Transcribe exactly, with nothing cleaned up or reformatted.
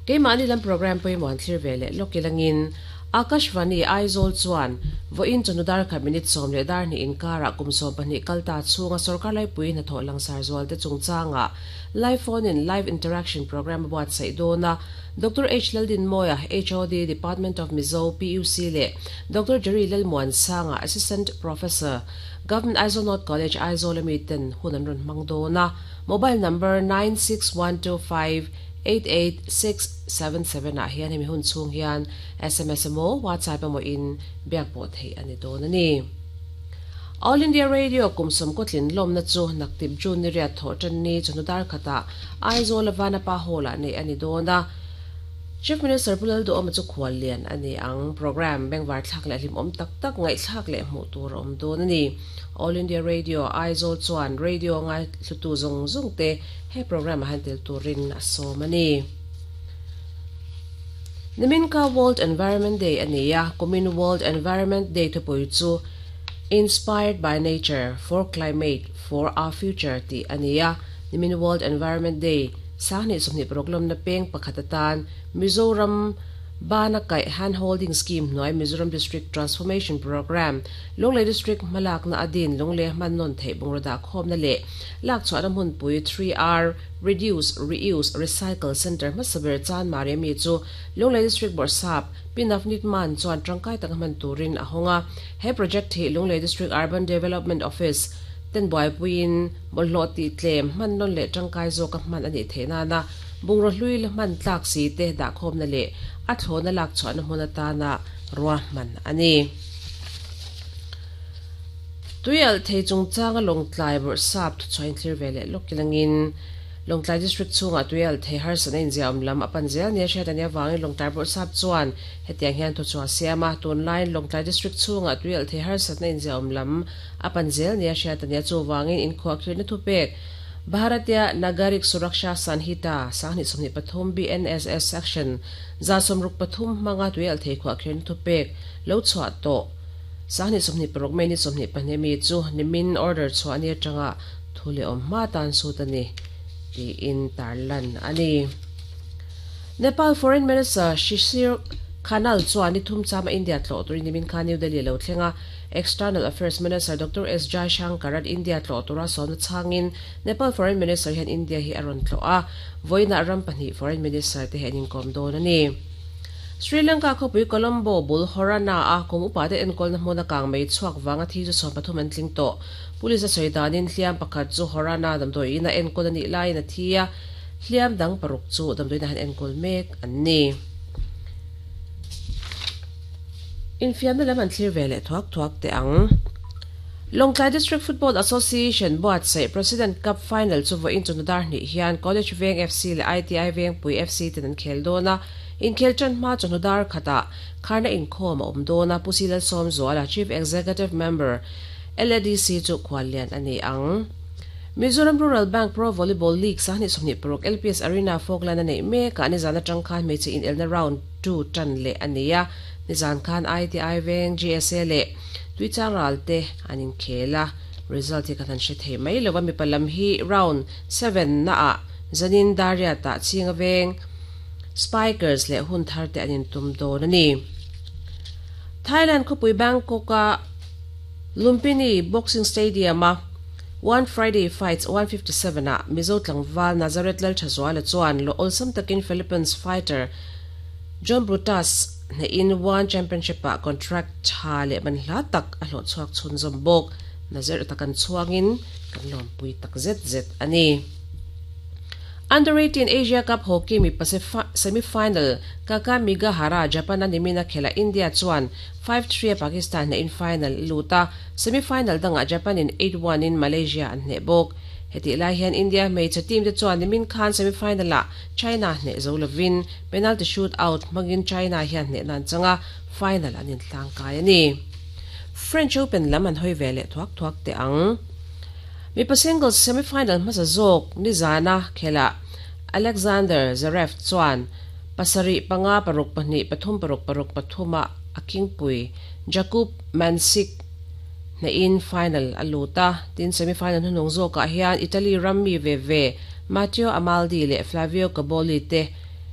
Keimahni lam program pawimawh an thlir ve leh lawk ilangin Akashvani Aizawl chuan vawiin chawhnu dar khat minute sawm leh dar hnih inkarah kum sawm pahnih kal ta chhunga sorkar laipui hnathawh langsar zual te chungchangah live phone in live interaction program a buatsaih dawn a. Doctor H Laldinmawia, H O D Department of Mizo P U C leh Doctor Jerry Lalmuansanga, Assistant Professor, Government Aizawl North College Aizawl ami ten hun an rawn hmang dawn a. Mobile number nine six one two five eight eight six seven seven ah hian hemi hun chhung hian S M S emaw WhatsApp emaw in biak pawh theih a ni dawn a ni. All India Radio kum sawm kawtlin lawmna chu naktip June ni riat thawh tan ni chawhnu dar khatah Aizawl Vanapa Hall ah neih a ni dawn a. Chief Minister Pu Lalduhawma chu khual lian a ni ang. Program Bengvar thlak leh hlim awm tak tak ngaihthlak leh hmuh tur a awm dawn a ni. All India Radio Aizawl chuan radio ngai hlutu zawng zawng te he program a han tel turin a sawm a ni. Niminka World Environment Day a ni a, kumin World Environment Day thupui chu Inspired by Nature for Climate for Our Future tih a ni a. Nimin World Environment Day sanghnih sawmhnih paruk lawmna peng pakhat atan Mizoram Bana Kaih Hand Holding Scheme hnuai Mizoram District Transformation Program Lunglei District hmalakna adin Lunglei hman nawn theih bungraw dah khawmna leh lak chhuahna hmunpui three R Reduce, Reuse, Recycle Center hmasa ber chan mari ami chu Lunglei District Bawrhsap Pinafnit Man chuan tangkai tak hman turin a hawnga. He project hi Lunglei District Urban Development Office ten buaipuiin bawlhhlawh tih tlem hman nawn leh tangkai zawk a hman a nih theih nana bungraw hlui la hman tlak si te dah khawmna leh a thlawna lak chhuahna hmun atana rua hman a ni. Tuial thei chungchanga Lawngtlai Bawrhsap thuchhuain thlir ve leh lawk ilangin Lawngtlai District chhunga tuial thei harsatna inziah awm lam a pan zel nia hriat a nia vangin Lawngtlai Bawrhsap chuan hetiang hian thuchhuah siama tunlaiin Lawngtlai District chhunga tuial thei harsatna inziah awm lam a pan zel nia hriat a nia chu vangin inkhuah khirna thupek Bharatiya Nagarik Suraksha Sanhita sanghnih sawmhnih pathum B N S S section za sawmruk pathum hmanga tuial thei khuah khirna thupek lo chhuah tawh sanghnih sawmhnih paruk mei ni sawmhnih pahnih mi chu nimin order chhuah ani atanga thu leh awm hma tan sut a ni tiin tarlan a ni. Nepal Foreign Minister Shishir Khanal chuan ni thum chama India tlawh turin nimin khan New Delhi lo thlenga. External Affairs Minister Doctor S Jaishankar at India tlawh tura sawmna changin Nepal Foreign Minister hian India hi a rawn tlawh a, vawiinah ram pahnih Foreign Minister te hian inkawm dawn a ni. Sri Lanka khawpui Colombo bul Horana a kum upa te enkawlna hmuna kang mei chhuak wanga thi chu sawm pathum an tling tawh. Police a sawi danin hliam pakhat chu Horana damdawiin a enkawl a nih laiin a thi a, hliam dang paruk chu damdawiin a han enkawl mek an ni. Infiamna lam an thlir ve leh thuak thuak te ang. Lawngtlai District Football Association buatsaih President Cup Final chu vawiin chawhnu dar hnih hian College Veng F C leh I T I Vengpui F C ten an khel dawn a. Inkhel tan hma chawhnu dar khatah kharna inkhawm a awm dawn a. Pu Silal Sawmzuala, Chief Executive Member L A D C chu khual lian a ni ang. Mizoram Rural Bank Pro Volleyball League sanghnih sawmhnih paruk L P S Arena Falkland a neih mekah nizan atang khan hmeichhe inelna round two tan leh a ni a. Nizan khan I T I Veng G S A leh Tuichang ral te an inkhel a. Result hi kan han hre thei mai lova mi palam hi round seven na ah zanin daria ta chinga veng Spikers leh hun thar te an intum dawn a ni. Thailand khawpui Bangkok a Lumpini Boxing Stadium a One Friday Fights one fifty-seven a Mizo Tlangval Nazareth Lal Thazuala chuan lo awlsam takin Philippines fighter John Brutus ne in one championship a contract tha leh man hla tak a hlawh chhuak chhun zawm bawk. Nazareth takan chuangin kan lawmpui tak zet zet a ni. Under eighteen Asia Cup Hockey mi semi-final Kakamigahara Japan a nimina khela India chuan five three Pakistan na in final luta semi-final danga Japan in eight one in Malaysia an hne bawk. Heti lai hian India hmeichhe team te chuan nimin khan semi-final ah China hne zo lovin penalty shoot out hmangin China hian hne nan changa final an intlang kai ani. French Open lam an hoi ve leh thuak thuak te ang. Mi pa singles semi-final hmasa zawk nizana khela Alexander Zverev chuan pasarih panga paruk pahnih pathum paruk paruk pathuma a kingpui Jakub Mensik na in final a luta. Tin semi-final hunung zawkah hian Italy rammi ve ve Matteo Amaldi leh Flavio Cobolli te